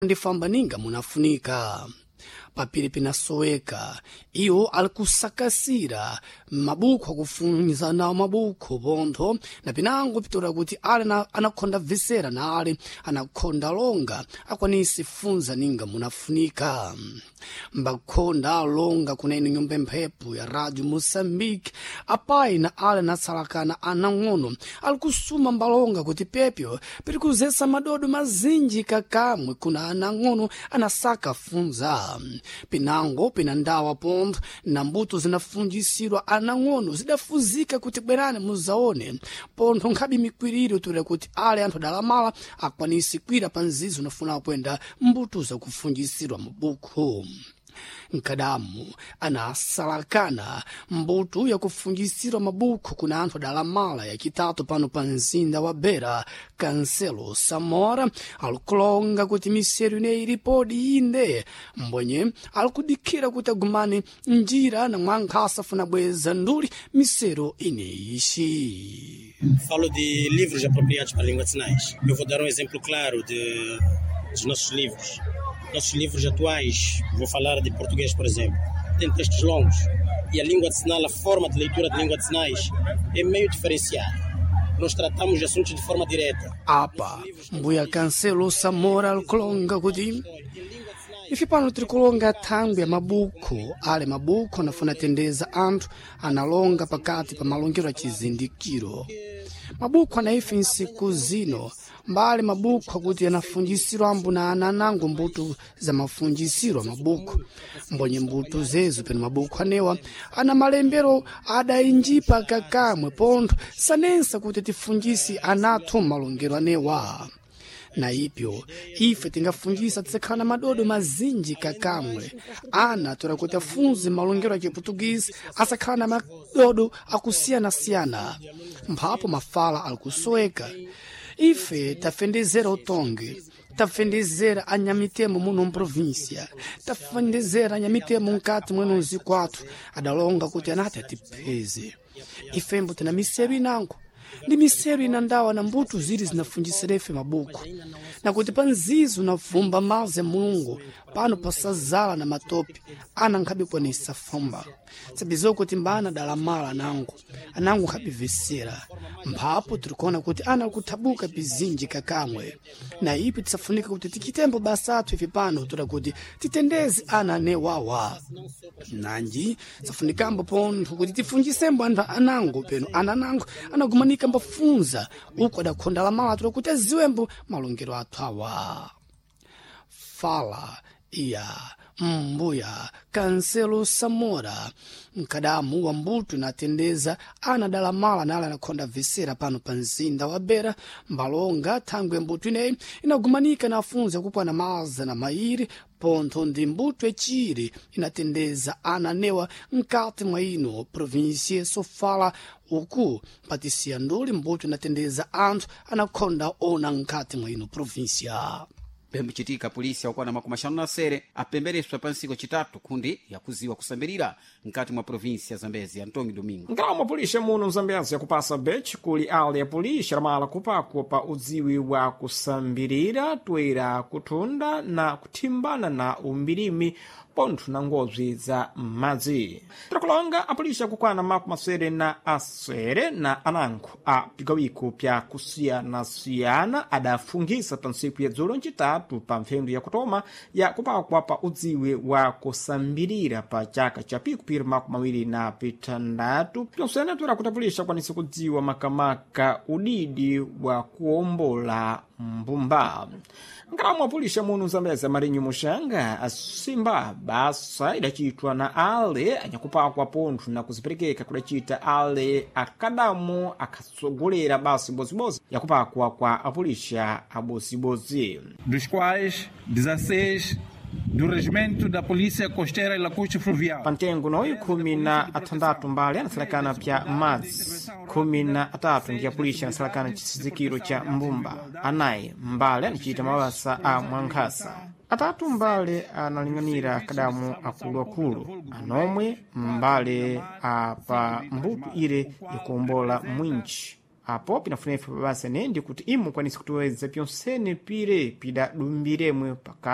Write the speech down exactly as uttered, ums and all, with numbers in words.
Ndifamba ninga munafunika papiri pinasoweka iwo ali kusakasira mabukho akufunza nawo mabukho pontho na pinango pitora kuti ali na- anakhonda bvisera na ali anakhonda longa akwanisi funza ninga munafunika. Mbakhonda alonga kunene nyumba mphepo ya Radio Moçambique, apayi na ali anatsalakana anang'ono ali kusuma mbalonga kuti pepyo piri kuzesa madodo mazinji kakamwe kuna anang'ono anasaka funza. Pinango pina ndawa pontho na mbuto zinafunjisirwa anang'ono zidafuzika kuti bwerani muzaone pontho nkhabe mikwiriro toera kuti ale anthu adalamala akwanisi kwira pa nzizo unafuna kuyenda mbuto zakufunjisirwa mabukhu. Nkadamu anasalakana mbuto yakufunjisirwa mabukhu kuna anthu adalamala yachitatu pano pa mzinda wa Beira, Kanselo Samora alikulonga kuti miseru ineyi ilipodi inde mbwenye alikudikhira kuti agumane njira na mwankhasa afuna bweza nduli misero ineyishi. Falo de livros apropriados para a língua de sinais. Eu vou dar um exemplo claro de, dos nossos livros. Nossos livros atuais, vou falar de português, por exemplo, tem textos longos. E a língua de sinal, a forma de leitura de língua de sinais é meio diferenciada. Nós tratamos assuntos de forma direta. Apa mbuya Kanselo Samora alikulonga kuti ife pano tiri kulonga thangwi ya mabukho ale mabukho anafuna tendeza anthu analonga pakati pa malongero a chizindikiro. Mabukho ana ife nsiku zino mbali mabukho akuti anafunjisirwa ambu na ana anango mbuto za mafunjisiro a mabukho mbonye mbuto zezo peno mabukho anewa ana malembero adayinjipa kakamwe pontho sanensa kuti tifunjisi anathu malongero anewa. Na ipyo ife tingafunjisa tisakhala na madodo mazinji kakamwe ana tora kuti afunze malongero a Chiputukisi asakhala na madodo akusiyanasiyana mphapo mafala alikusoweka. Ife tafendezera utongi, tafendezera anyamitemo muno mprovinsia, tafendezera anyamitemo mkati mweno mzikwathu adalonga kuti anati atipeze ifembo tina miseru inango ndi miseru ina ndawa na mbuto ziri zinafunjisira ife mabuku na kuti pa nzizo navumba mazi ya Mulungu pano pasazala na matope ana nkhabikwanisa fumba sabizo kuti mbana dalamala anango anango nkhabivesera mphapo tirikuona kuti ana kuthabuka bizinji kakamwe na ipi tisafunika kuti tichitembo basa athu ife pano toda kuti titendeze ana ane wawa nanji safunikambo pontho kuti tifunjisembo anthu anango peno ana anango anagumanika mbafunza uku adakhonda lamala toda kuti aziwembo malongero athu awa. Fala iya mbuya Kanselo Samora mkadamu wa mbuto inatendeza ana dalamala nale anakhonda visera pano pa mzinda wa Beira mbalonga thangwe mbuto ineyi inagumanika na afunzi akupwana maza na mairi pontho ndi mbuto yaciri inatendeza ana anewa mkati mwa ino provinsia Sofala uku patisiya nduli mbuto inatendeza anthu anakhonda ona mkati mwa ino provinsia. Pembuchitika polisi akukwana makumi axanu na sere apembereswa pa ntsiku yacitatu khundi yakuziwa kusambirira mkati mwa provinsi ya Zambezi. Antonio Domingo. Nkalamu apulixa muno mzambezi yakupasa bechi kuli ale ya pulixa lamala kupakwa pa udziwi wa kusambirira toera kuthunda na kuthimbana na umbirimi pontho na ngobzi za madzi. Tirakulonga apulixa kukwana makumi asere na asere na anankho a pigawiko pya kusiyanasiyana adafungisa pa ntsiku ya dzulo ncitatu pa mphendu yakutoma ya kupakwa pa udziwi wa kusambirira pa chaka cha pikupiri makumi awiri na pitandatu. Pyonsene toera kuti apulixa akwanise kudziwa makamaka udidi wa kuwombola mbumba. Nkalamu apulixa muno mzambeza Marinho Muxanga asimba basa idacitwa na ale anyakupakwa pontho na kuziperekeka kudacita ale akadamu akatsogolera basa ibozibodzi yakupakwa kwa apulixa abozibodzi. Dos quais dezasseis do Regimento da Polícia Costeira e Lacustre Fluvial. Pamtengo noyi khumi na athandatu mbali anasalakana pya madzi, khumi na atatu ndi apulixa anasalakana chisizikiro cha mbumba, anayi mbali anacita mabasa a mwankhasa, atatu mbale analing'anira kadamu akuluakulu, anomwe mbale a pa mbuto ire yakuwombola mwinji. Apo pinafunefe pabasa nendi kuti imu kwanise kutiweza pyonsene pire pidadumbiremwe paka